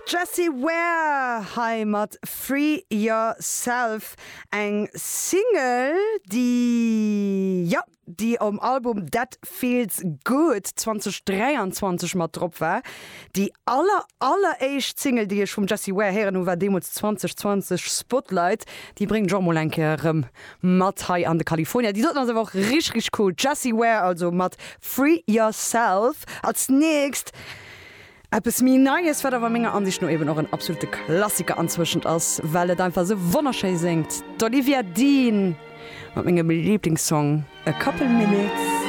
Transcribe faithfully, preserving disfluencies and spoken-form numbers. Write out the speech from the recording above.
Jessie Ware hei mat Free Yourself eng Single déi ja déi um Album That Feels Good zweedausenddräianzwanzeg mat drop war. Déi aller alleréischt Single déi ech vum Jessie Ware héieren hunn war deemools zweedausendzwanzeg Spotlight déi bréngt ech och mol eng Kéier erëm mat hei an de California. Déi doten ass awer och richteg richteg cool. Jessie Ware also mat Free Yourself als nächst eppes méi Neies wat awer menger Ansicht no eben och en absolute Klassiker anzwëschen ass, well et einfach sou wonnerschéi séngt. D'Olivia Dean mat mengem Lieblingssong A Couple Minutes.